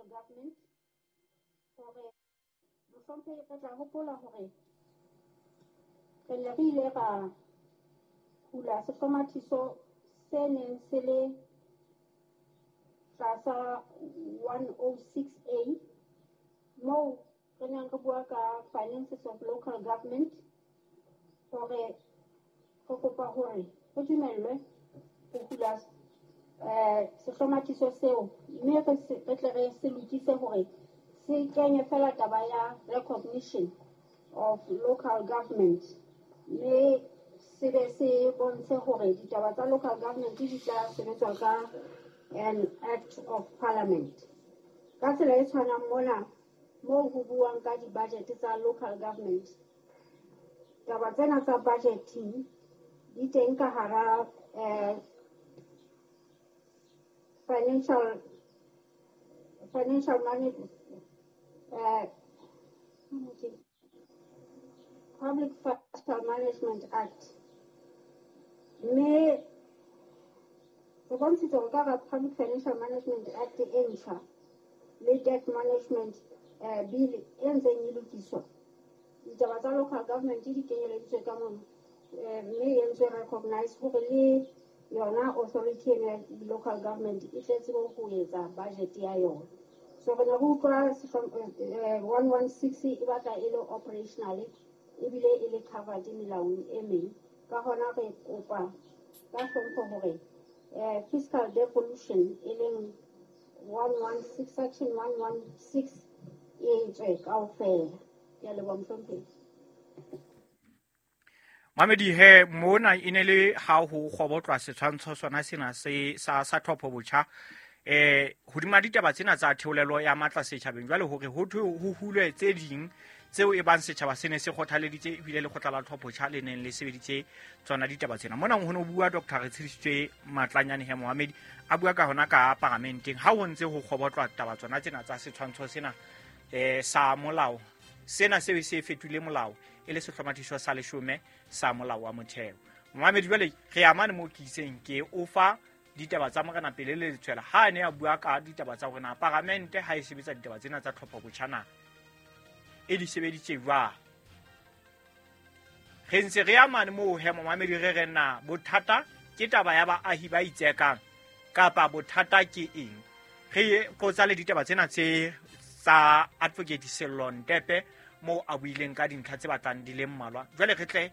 Government hore mohlomphehi re tla hopola hore re ne re ile ra hula sehlomathiso se neng se le tlasa 106A moo re neng re bua ka finances of local government hore re kopa hore re dumellwe ho hula sehlomathiso seo mme re tle re se lokise hore se kenye fela taba ya recognition of local government mme se be se bontshe hore ditaba tsa local government di tla sebetswa ka an act of parliament. Ka tsela e tshwanang mona moo ho buang ka di-budget tsa local government, taba tsena tsa budgeting di teng ka hara financial management, Public Financial Management Act. Mme re bontshitse hore ka hara Public Financial Management Act e ntjha le Debt Management Bill e ntseng e lokiswa, ditaba tsa local government di kenyeleditswe ka mono, mme e entswe recognize hore le yona authority eno ya local government e tle tsebe ho etsa budget ya yona. So re ne re utlwa 116 e batla e le operational ebile e le covered melaong e meng. Ka hona re kopa ka hlompho hore fiscal devolution e leng 116 section 116 e tswe kaofela. Ke a leboha mohlomphehi. Mamedi he mona e ne le ha ho kgobotlwa setshwantsho sona sena se sa tlhopho botjha hodima ditaba tsena tsa theolelo ya matla setjhabeng. Jwale hore ho thwe ho hulwe tse ding tseo e bang setjhaba se ne se kgothaleditse ebile lekgotla la tlhopho botjha le neng le sebeditse tsona ditaba tsena. Mona ho no bua Dr. Retshedisitswe Matlanyane he Mohamedi a bua ka hona ka paramenteng ha ho ntse ho kgobotlwa taba tsona tsena tsa setshwantsho sena sa molao sena se se fetohile molao e le sehlomathiso sa leshome sa molao wa motheo. Mohamedi jwale re amane mo ke itseng ke o fa ditaba tsa morena pele le letshwela ha ne a bua ka ditaba tsa hore na paramente ha e sebetsa ditaba tsena tsa tlhopho botjha na e di sebeditse jwang. Re ntse re amane moo he Mohamedi re re na bothata ke taba ya baahi ba itsekang kapa bothata ke eng. Re qotsa le ditaba tsena tse tsa Advocate Sello Ntepe moo a buileng ka dintlha tse batlang di le mmalwa. Jwale re tle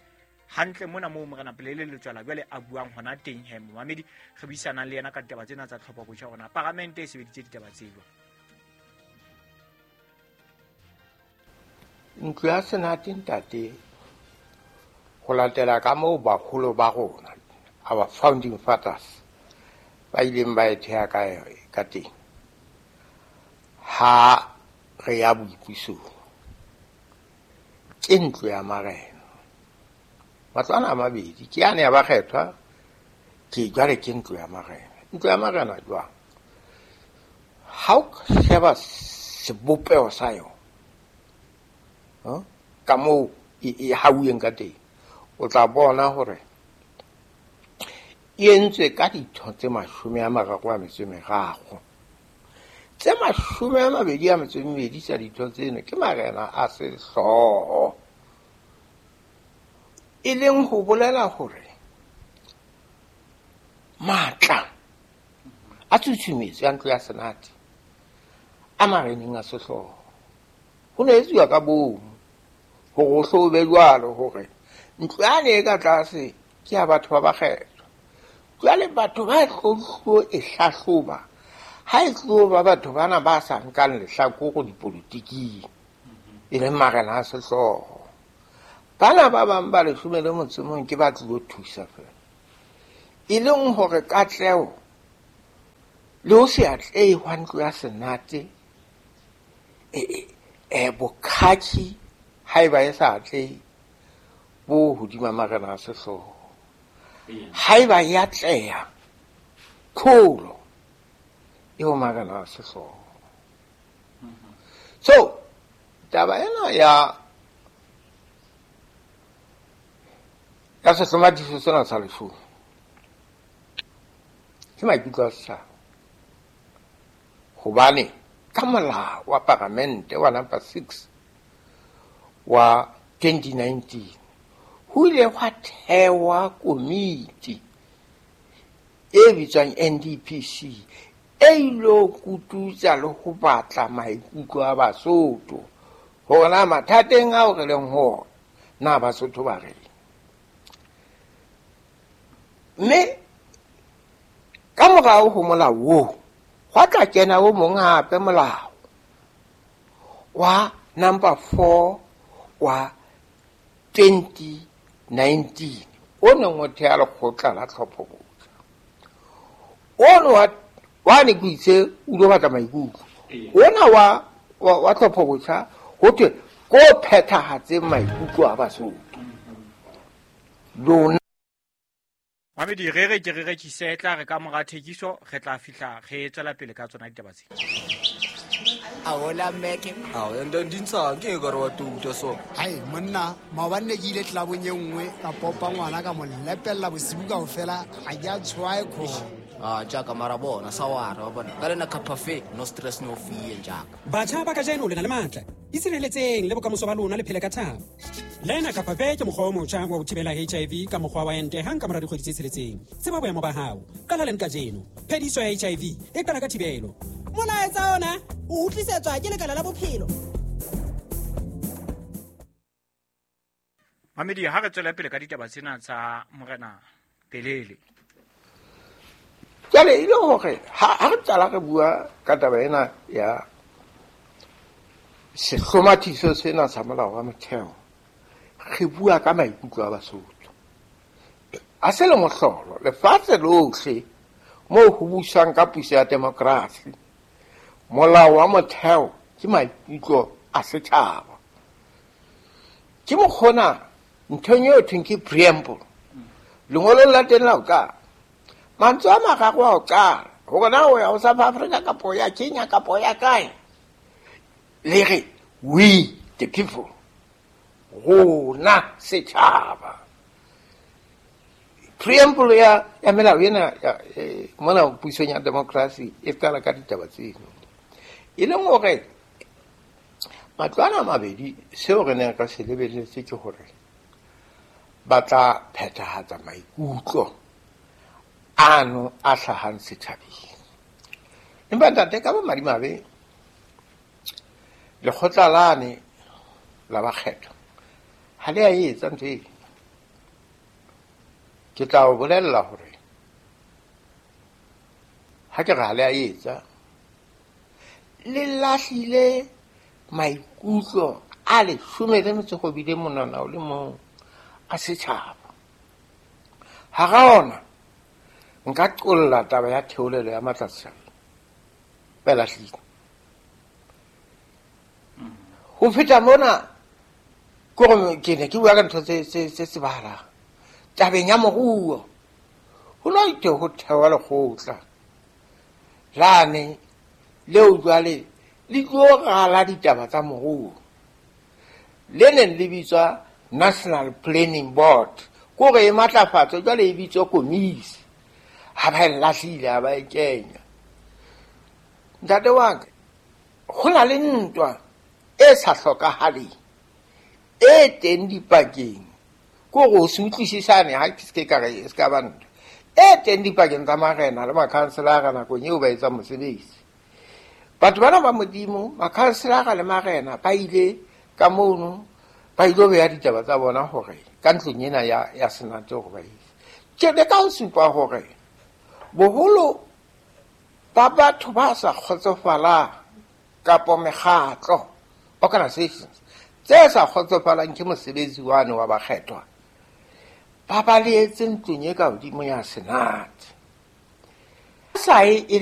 hantle mona moo morena pele le letswela jwale a buang hona teng he Mohamedi re buisanang le yena ka ditaba tsena tsa tlhopho botjha hona paramente e sebeditse ditaba tse jwang. Ntlo ya Senate ntate, ho latela ka moo baholo ba rona, our founding fathers, ba ileng ba e theha ka teng, ha re ya boipusong, ke ntlo ya marena. Matlo ana a mabedi, ke yane ya bakgethwa, ke jwale ke ntlo ya marena. Ntlo ya marena jwang? Ha o sheba sebopeho sa yona, ka moo e hauweng ka teng, o tla bona hore e entswe ka ditho tse 33. Tse 22 tsa ditho tseno ke marena a sehlooho, e leng ho bolela hore matla a tshusumetso ya ntlo ya Senate a mareneng a sehlooho. Ho ne etsuwa ka bomo hore ho hlo be jwalo hore ntlo yane e ka tlase ke ya batho ba bakgethwa. Jwale batho ba tlo e hlahloba ha e tlo ba batho bana ba sa nkang lehlakore dipolotiking, e leng marena a sehlooho. Bana ba bang ba 11 ke ba tlilo thusa fela, e leng hore katleho le ho se atlehe hwa ntlo ya Senate bokhakhi haeba e sa atlehe bo hodima marena a sehlooho. Haeba e atleha, kholo e ho marena a sehlooho. So taba ena ya sehlomathiso sena sa leshome ke maikutlo a setjhaba, hobane ka molao wa paramente wa number 6 wa 2019 ho ile hwa thewa komiti e bitswang NDPC e ilo kututsa le ho batla maikutlo a Basotho hore na mathateng ao re leng ho na Basotho ba reng. Mme ka morao ho molao oo hwa tla kena o mong hape molao wa number 4 wa 2019 o neng o theha lekgotla la tlhopho-botjha. Ono wa ne ke itse o ilo batla maikutlo. Ona wa tlhopho-botjha ho thwe ko phethahatseng maikutlo a Basotho. Lona Mamedi re re ke re rekise tla re ka mora thekiso re tla fihla re tswela pele ka tsona ditaba tse. Ahola meke. Ao ende ndintsang ke ka re wa tuta so. Hai monna maobane ne ke ile tlabong e nngwe ka popa ngwana ka mo lepella bosibu kaofela ha ke a tshwae kho. Ah jaaka mara bona sawara wa bona. Ka lena cafe no stress no fear jaaka. Batjha ba kajeno le na le matla. Itshireletseng le bokamoso ba lona le phele ka thabo. Lena Capafe ke mokgwa o motjha wa ho thibela HIV ka mokgwa wa ente hang ka mora dikgwedi tse tsheletseng. Tseba boemo ba hao. Qala leng kajeno. Phediso ya HIV e qala ka thibelo. Molaetsa ona o utlwisetswa ke Lekala la Bophelo. Mamedi ha re tswela pele ka ditaba tsena tsa Morena Pelele. Jwale e le hore ha re qala re bua ka taba ena ya sehlomathiso sena sa molao wa motheo, re bua ka maikutlo a Basotho. A se le mohlolo lefatshe lohle moo ho busang ka puso ya demokrasi, molao wa motheo ke maikutlo a setjhaba. Ke mokgona nthong eo thweng ke preamble, lengolong la teng la ho qala, mantswe a mararo a ho qala hore na o ya ho South Africa kapo ya Kenya kapo ya kae, le re we the people, rona setjhaba. Preamble ya melao ena mona pusong ya demokrasi e qala ka ditaba tseno. E leng hore matlo ana a mabedi seo re neng re se lebelletse ke hore ba tla phethahatsa maikutlo ano a hlahang setjhabeng. Empa ntate ka bomadimabe lekgotla lane la bakgetho ha le a etsa ntho eo. Ke tla o bolella hore ha ke re ha le a etsa, le lahlile maikutlo a 18 monwana o le mong a setjhaba. Hara ona nka qolla taba ya theolelo ya matla setjhabeng. Ba lahlile. Ho feta mona ke ke ne ke bua ka ntho tse tsebahalang. Tabeng ya moruo ho no itse ho thewa lekgotla lane leo jwale le tlo rala ditaba tsa moruo, le neng le bitswa National Planning Board, kore e matlafatso jwale e bitswa komisi. Ha ba e lahlile, ha ba e kenya. Ntate wa ka, ho na le ntwa e sa hlokahaleng e teng dipakeng, kore o se utlwisisane ha ke se ka re e se ka ba ntwa e teng dipakeng tsa marena le makhanselara nakong eo ba etsang mosebetsi. Batho bana ba Modimo, makhanselara le marena ba ile ka mono ba ilo beha ditaba tsa bona hore ka ntlong ena ya senate hore ba ise. Ke leka ho supa hore boholo ba batho ba sa kgotsofalang kapo mekgatlo organizations tse sa kgotsofalang ke mosebetsi wane wa bakgethwa ba balehetse ntlong e ka hodimo ya senate. Sa e le